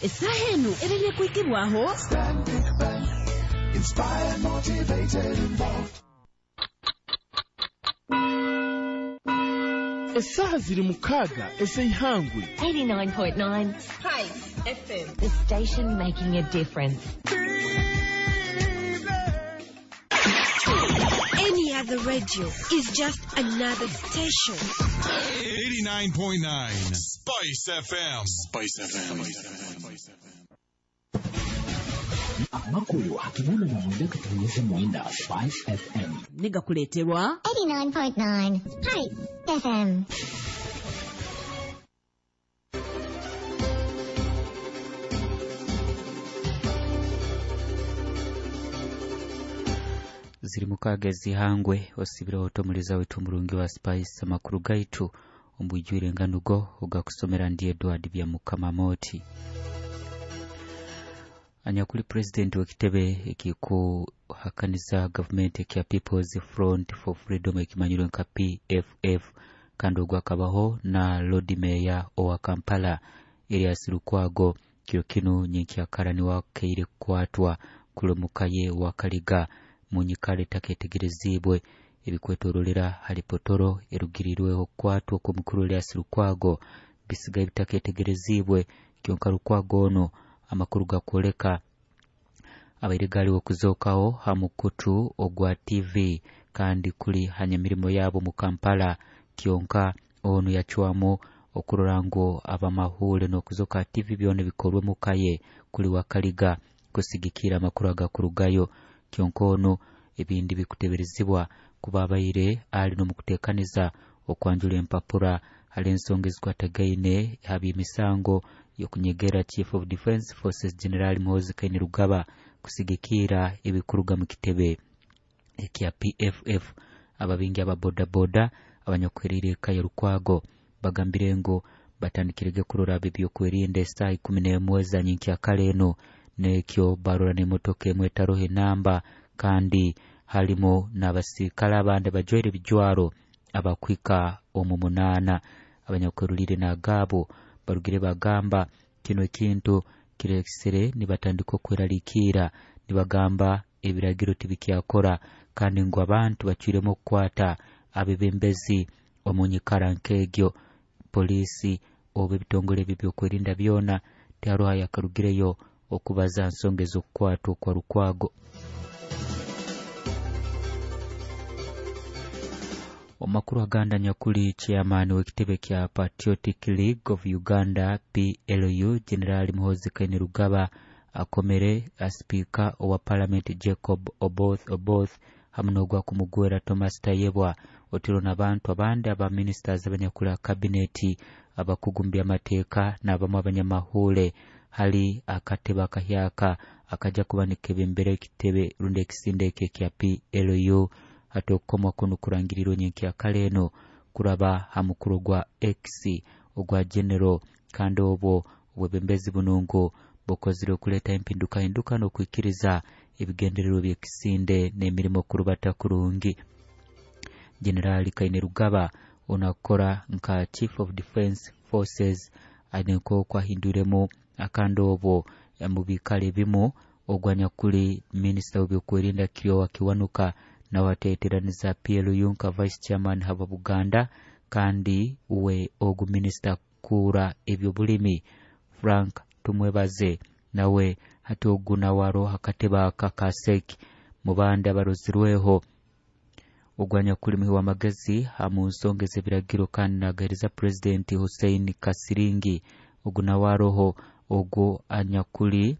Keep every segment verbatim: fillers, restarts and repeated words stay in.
Essaaha eno ebaire kuikibwaho Stanbic Bank. Inspired, motivated, involved. Essaaha ziri mukaaga ez'eihangwe. eighty-nine point nine Spice F M. The station making a difference. Any other radio is just another station. eighty-nine point nine Spice F M. Spice F M. Amakulu akibona na mwenda katunyeze mwenda Spice F M. Niga kuleterwa eighty-nine point nine Spice F M. Ziri mukaaga ezihangwe osibire otomuliza wetu omurungi wa Spice amakuru gaitu ombwijwire enganugo ogakusomera ndi Edward Byamukama Moti. Anyakuli president w'ekitebe ekikuhakaniza gavumenti ekya People's Front for Freedom ekimanyirwe nka P F F kandi ogwo akabaho na Lord Mayor owa Kampala Erias Lukwago kiro kinu nyenkyakara niwakeire kukwatwa kulomukaye wa Kaliga munyikale taketegerezibwe ebikwetorolera hali potoro erugirirweho kukwatwa kw'omukuru Erias Lukwago bisigaye bitaketegerezibwe kyonka Lukwago ono amakuru gakwoleka abaire galiwo kuzookaho ha mukutu ogwa T V kandi kuli hanyamirimo yabo mu Kampala kyonka ono yacwamu okurora ngu abamahule n'okuzoka T V byona bikorwe mukaye kuli Wakaliga kusigikira amakuru agakurugayo kyonka ono ebindi bikuteberezibwa kuba abaire ali n'omukuteekaniza okwanjula empapura hali ensonga ezikwatagaine hab'emisango yokunyegera Chief of Defense Forces General Muhoozi Kainerugaba kusigikira ebikuruga mu kitebe ekya P F F. Ababingi aba bodaboda abanyakuheriire eka ya Lukwago bagambire ngu batandikirege kurora ebyokwerinda esaaha ikumi n'emwe za nyenkyakara eno n'ekyo barora n'emotoka emwe etaroho enamba kandi harimo n'abasirikale abandi bajwaire ebijwaro abakwika omu munaana. Abanyakwerurire n'agaabo barugire bagamba kino ekintu kirekisire nibatandika okweraliikira nibagamba ebiragiro tibikyakora kandi ngu abantu bacwiremu okukwata abebembezi omu nyikara nk'egyo. Polisi oba ebitongole ebyo ebyokwerinda byona tiharoho yakarugireyo okubaza nsonga ez'okukwatwa kwa Lukwago. Omakuru aganda nyakuli chairman w'ekitebe kya Patriotic League of Uganda P L U General Muhoozi Kainerugaba akomere Speaker owa Parliament Jacob Oboth Oboth hamwe n'ogwa kumugwera Thomas Tayebwa otiro n'abantu abandi aba ministers abanyakula cabinet abakugumbya amateeka n'abamu abanyamahule hali akatebe akahyaka akaja kuba nikebembera ekitebe rundi ekisinde ekyo ekya P L U hati okukomwa kuno kurangirirwe nyenkyakara eno kuraba ha mukuru gwa X ogwa General kandi obwo obwebembezi buno ngu bukozire okuleeta empindukahinduka n'okwikiriza ebigendererwa by'ekisinde n'emirimo kurubata kurungi. General Kainerugaba onakora nka Chief of Defense Forces aine nk'oku ahindwiremu akandi obwo mu bikalo ebimu ogwa nyakuli minisita w'ebyokwerinda Kiryowa Kiwanuka nawe ateeteraniza P L U nka Vice Chairman haba Buganda kandi we ogu minisita kuura ebyobulimi Frank Tumwebaze nawe hati ogu nawe aroho akatebe aka ka S E C mu bandi abarozirweho ogwa nyakuli muhi w'amagezi mu nsonga ez'ebiragiro kandi nagahereza Pulezidenti Hussein Kasiringi ogu nawe aroho ogwo anyakuli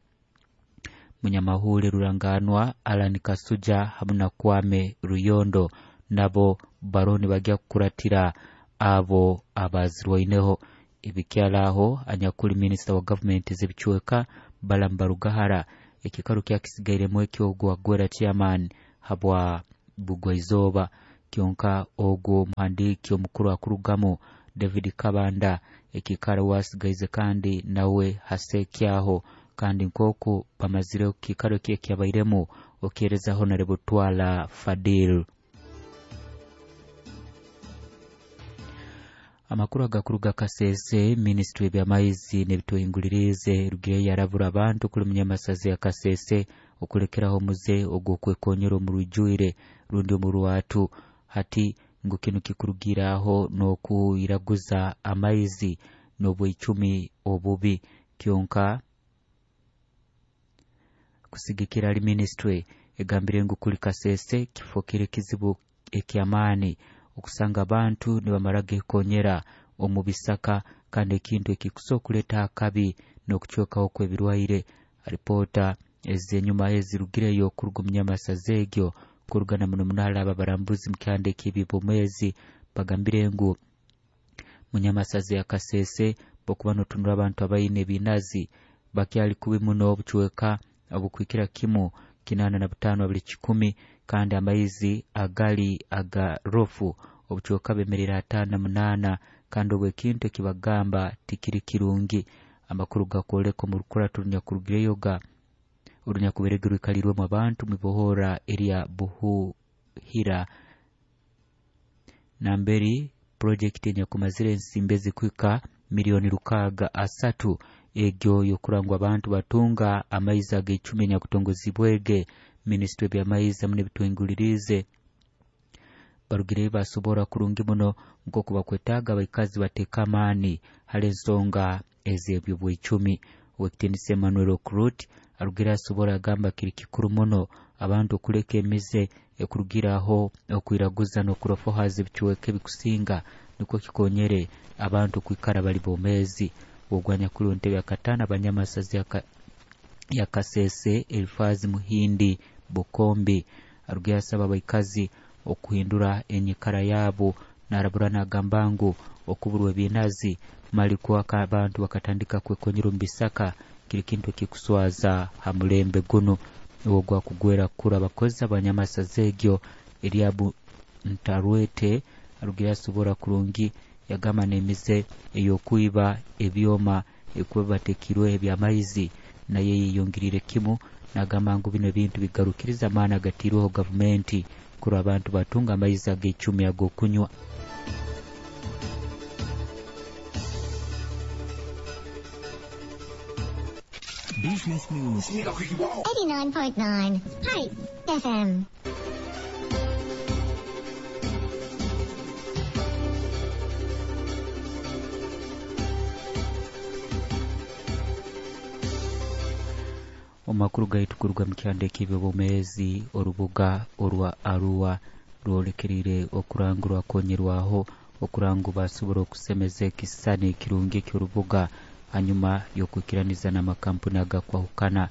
munyamahule ruranganwa Alan Kasuja hamwe na Kwame Ruyondo nabo baroni bajya kukuratira abo abazirwaineho. Ebikyalaho anyakuli minisita wa gavumenti z'ebicweka Balaam Barugahara ekikaru kyakisigairemu ekyogwo agwera chairman habwa Bugwaizooba kyonka ogwo muhandiiki omukuru akurugamu David Kabanda ekikaro wasigaize kandi nawe hasekyaho kandi nk'oku bamazire ekikaro kye kyabairemu okyereza Honorable Twala Fadil. Amakuru agakuruga Kasese, Ministry by'amaizi n'ebituhingulirize rugire yarabura abantu kuli munyamasazi ya Kasese okulekeraho omuze ogw'okwekonyera omu rujwire rundi omu rwatu. Hati ngu kinu kikurugiraho n'okuyiraguza amaizi n'obwicumi obubi. Kyonka kusigikira ali ministry egambire ngu kuli Kasese kifokere kizibu eky'amaani okusanga abantu nibamara gekonyera omu bisaka, kandi ekintu ekikusobola okuleeta akabi n'okucwekaho kw'ebirwaire. Alipoota ezenyuma ezirugireyo okuruga omu nyamasaza egyo kurugana muno muno hali aba barambuzi mu kyanda eky'ebyobwomeezi bagambire ngu munyamasaza ya Kasese bokuba notunura abantu abaine ebinazi bakyali kubi muno obucweka obukwikira kimu kinana na butano abiri kikumi, kandi amaizi agali aga rofu obucweka bemerera atano na munana, kandi obwo ekintu ekibagamba tikiri kirungi. Amakuru gakwoleka omu rukurato runyakurugireyo ga orunyakuberege rwikalirwemu abantu mibohora erya Buhuhira namberi project enyakumazire ensimbi ezikuhika milioni rukaaga asatu egyo yokurangwa abantu batunga amaizi ag'icumi enyakutongozibwege Ministry by'amaizi hamwe n'ebituhingulirize. Barugireyo basobora kurungi muno nk'oku bakwetaaga abaikazi bateeka amaani hali ensonga ez'ebyobwicumi. Owekitinisa Emmanuel Okurut arugire asobora agamba kiri kikuru muno abantu okuleka emize ekurugiraho okwiraguza n'okurofohaza ebicweka ebikusinga nikwo kikonyere abantu kwikara bali bomezi. Ogwanya kuli entebe ya katano abanyamasazi ya Kasese Elifazi Muhindi Bukombi arugire asaba abaikazi okuhindura enyikara yabo, narabura nagamba ngu okuburwa ebinazi mali kuwaka abantu bakatandika kwekonyera omu bisaka kiri kintu ekikuswaza ha mulembe guno. Ogwa kugwera kura abakozi abanyamasaza egyo eryabu Ntarwete arugire asobora kurungi yagamba n'emize ey'okwiba ebyoma ekuba batekirwe eby'amaizi naye yeyongeriire kimu, nagamba ngu bino ebintu bigarukiriza amaani agatirweho gavumenti kurwa abantu batunga amaizi ag'icumi ag'okunywa. Business News eighty-nine point nine Spice F M. Omakuru gaitu kuruga mu kyanda eky'ebyobwomeezi orubuga orwa Arua rwolekerire okurangurwa konyerwaho okurangu basobora okusemeza ekisisani ekirungi eky'orubuga hanyuma y'okwikiraniza n'amakampuni agakwahukana.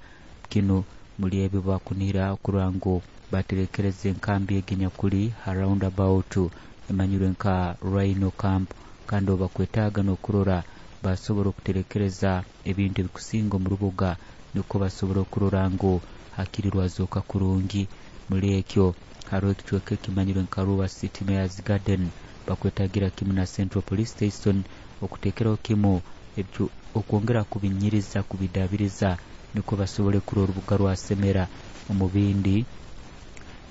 Kinu muli ebyo bakunira okurangu baterekereza enkambi eginyakuli ha roundabout emanyirwe nka Rhino Camp, kandi obakwetaaga n'okurora basobora okuterekereza ebintu ebikusinga omu rubuga nukwo basobora okurora ngu hakiri rwazooka kurungi. Muri ekyo hariho ekicweka ekimanyirwe nka Arua City Mayor's Garden bakwetagira kimu na Central Police Station okuteekeraho kimu ebyo okwongera kubinyiriza kubidabiriza nukwo basobole kurora orubuga rwasemera. Omu bindi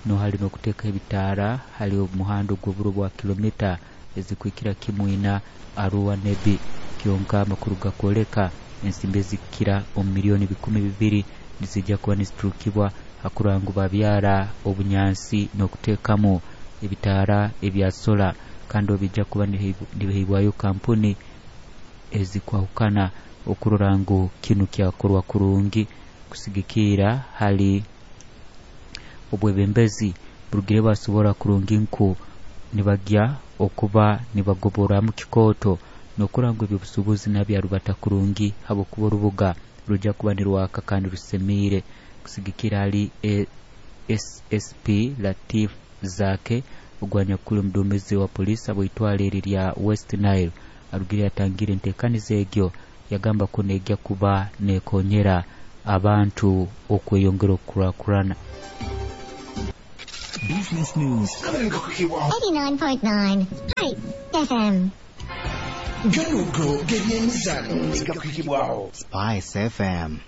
no hali n'okuteeka ebitaara hali omuhanda ogw'oburo bwa kilomita ezikwikira kimu ina Arua Nebi. Kyonka amakuru gakwoleka ensimbi ezikira omu milioni bikumi bibiri nizijja kuba niziturukibwa hakurangu babyara obunyansi n'okuteekamu ebitaara ebya sola, kandi obijja kuba nibihibwayo kampuni ezikwahukana okurora ngu kinu kyakorwa kurungi. Kusigikira hali obwebembezi burugire basobora kurungi nku nibagya okuba nibagoboramu kikooto n'okuranga ebyobusuubuzi nabyarubata kurungi habwokuba orubuga rujja kuba nirwaka kandi rusemiire. Kusigikira hali S S P Latif Zake ogwanyakuli omuduumizi wa poliisi abwitwale eri lya West Nile arugire atangire enteekaniza egyo yagamba ku negya kuba nekonyera abantu okweyongera okukurakurana. Business News eighty-nine point nine Spice F M. Ganugo g'ebyemizano gakwikibwaho Spice F M.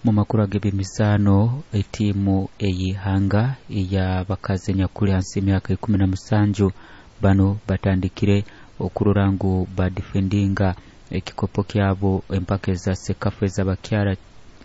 Mu makuru ag'ebyemizaano, etiimu ey'ihanga ey'abakazi enyakuli hansi y'emyaka ikumi na musanju bano batandikire okurora ngu badifendinga ekikopo kyabo empaka eza sekafa ez'abakyara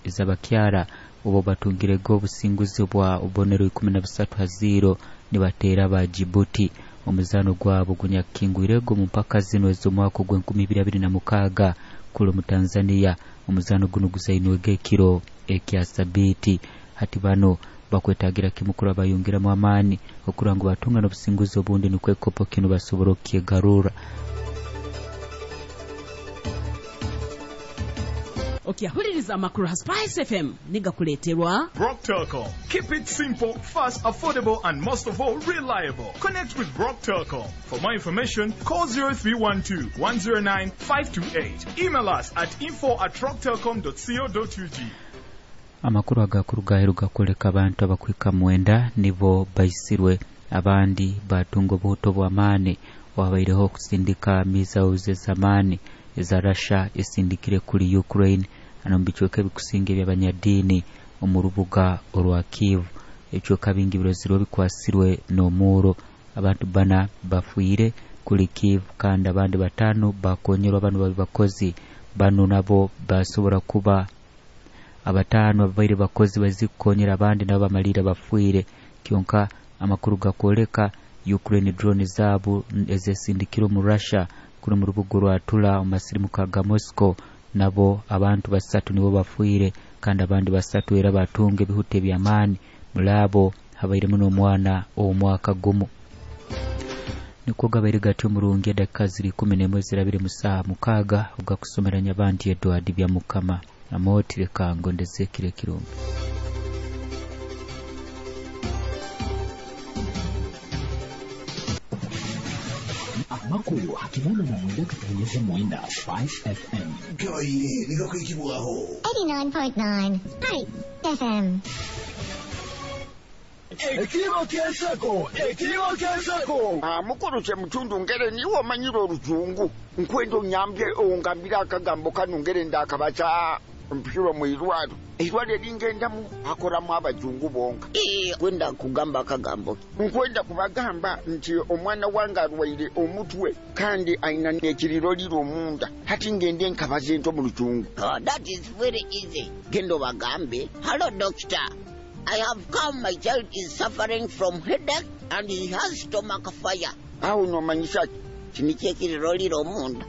ez'abakyara obo batungirego obusinguzi bwa obubonero ikumi na busatu ha ziro nibateera ba Djibouti. Omuzaano gwabo gunyakingwirego mu mpaka zino ez'omwaka ogw'enkumi ibiri abiri na mukaaga kuli mu Tanzania. Omuzaano guno guzainwege ekiro ekya sabiiti. Hati bano bakwetagira kimu kuraba bayongeramu amaani okurora ngu batunga n'obusinguzi obundi nukwo ekikopo kino basobora okukyegarura. Okyahuliriza amakuru ha Spice F M nigakuleeterwa Brock Telecom. Keep it simple, fast, affordable, and most of all, reliable. Connect with Brock Telecom. For more information, call zero three one two, one zero nine, five two eight. Email us at info at rocktelcom dot co dot U G. Amakuru agakuru gaheruka kwoleka abantu abakwika mwenda nibo baisirwe, abandi batunga obuhuto bw'amaani. Wabaireho okusindika missiles ez'amaani eza Russia esindikire kuli Ukraine ano mu bicweka ebikusinga eby'abanyadiini omu rubuga orwa Kiev. Ebicweka bingi birozirwe bikwasirwe n'omuuro. Abantu bana bafiire kuli Kiev kandi abandi batano bakonyerwa bano babi bakozi bano nabo basobora kuba abatano ababaire bakozi bazikukonyera abandi nabo bamalira bafiire. Kyonka amakuru gakwoleka Ukraine drone zaabu ezesindikire omu Russia kuri mu rubuga rwa Tula omu masirimuka ga Moscow nabo abantu basatu nibo bafiire kandi abandi basatu era batunga ebihute eby'amaani. Mulabo habairemu n'omwana ow'omwaka gumu. Nikwo gabaire gatyo omurungi edakika ziri ikumi n'emwe zirabire mu saaha mukaaga ogakusomeranya abandi Edward Byamukama. Amootire kangondeze kire kirungi. Amakuru hakibona na mwenda katonyeze mwenda Spice F M. Gaire nigakwikibwaho eighty-nine point nine Spice F M. Ekiribo ky'ensako, ekiribo ky'ensako. Ah, mukulu kye mutundu ngere niwe omanyire oluzungu. Nkwenda onyambye ongambire akagambo kano ngere ndakabaca mpirwa mu irwaro. Irwaro eringendamu akoramu abajungu bonka. Eh, kwenda kugamba akagambo. Nkwenda kubagamba nti omwana wange arwaire omutwe kandi aina n'ekiriroliro omunda. Hati ngende nkabaze nto mu luzungu. Oh, that is very easy. Gendo bagambe, hello doctor. I have come, my child is suffering from headache and he has stomach fire. Awo nomanyisa ki? Kino ky'ekiriroliro omunda.